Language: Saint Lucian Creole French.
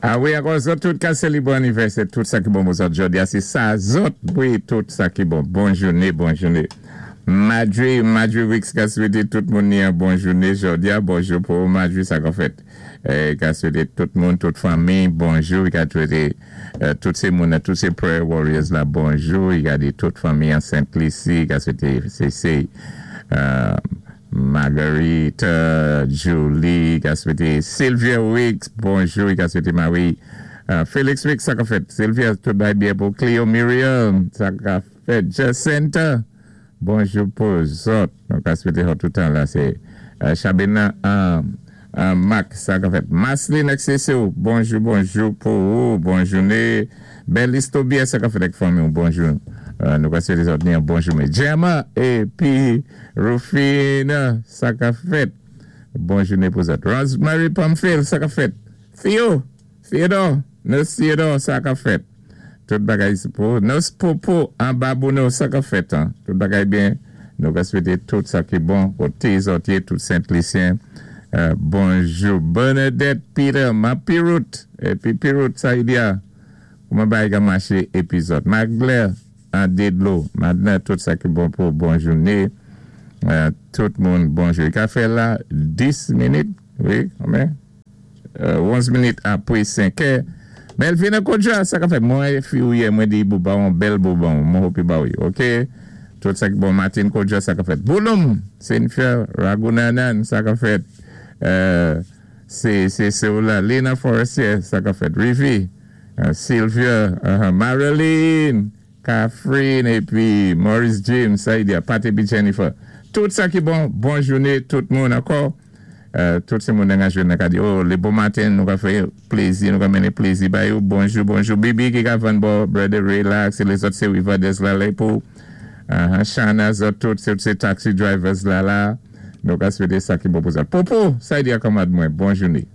A wi, ankò zòt tout ka sélébwé annivèsè, tout sa ki bon pou zòt jòdi a, sé sa zòt, wi, tout sa ki bon. Bon jouné, bon jouné. Madri, Madri Weeks ka swété tout moun ni an bon jouné jòdi a. Bonjou pou ou Madri, sa ka fèt? Ka swété tout moun, tout fanmi, bonjou. I ka swété tout sé moun nan, tout sé prayer warriors la bonjou. I ka di tout fanmi an Sent Lisi, i ka swété sé sé Marguerite, Julie, ka swete Sylvia Weeks, bonjou, ka swete Marie Felix Weeks, sa ka fèt? Sylvia, tout bagay byen pou Cleo Muriel, sa ka fèt? Jacinta, bonjou pou zòt. Nou ka swete zòt toutan la se Chabena Marc, sa ka fèt? Marceline ak Cecile, bonjou, bonjou pou ou, bon joune. Berlice Tobias, sa ka fèt ak fanmi ou, bonjou. Nou ka swete zòt ni an bon joune. Gemma, epi Rufina, sa ka fèt? Bon joune pou zòt. Rosemary Pamphile, sa ka fèt? Theo, Theodore, Nurse Theodore, sa ka fèt? Tout bagay pou Nurse Popo anba Bono, sa ka fèt? Tout bagay byen? Nou ka swete tout sa ki bon koté zòt yé, tout Sent Lisyen. Bonjou Bernadette Peter, ma Pirout, epi Pirout sa y di a? Kouman bagay ka maché epi zòt? Magler, An de dlo madna tout sa ki bon pou bon joune tout moun bonjou li ka fè la 10 minit wi konbyen 11 minit apre 5 è Melvina Kodja sa ka fè mwen fi ou ye mwen di bou ba on bèl bouban mwen hope ba ou ok tout sa ki bon Martine Kodja sa ka fèt Bouloum Cynthia Ragunanan sa ka fèt se se se ou la Lina Forestier sa ka fèt Rivi Sylvia, Marilyn, Catherine epi Maurice James, Saïdia, Pat epi Jennifer. Tout sa ki bon, bon joune tout moun ankò. Tout se moun nan ka jwenn nan ka di oh le bon maten nou ka fè plezi, nou ka mennen plezi ba yo. Bonjou, bonjou Bibi ki ka vann bò Brother Relax e lezòt se Rivadez la lè pou Shana zòt tout se se taxi drivers la la. Nou ka swete sa ki bon pou zòt. Popo, Saïdia kanmad mwen, bon joune.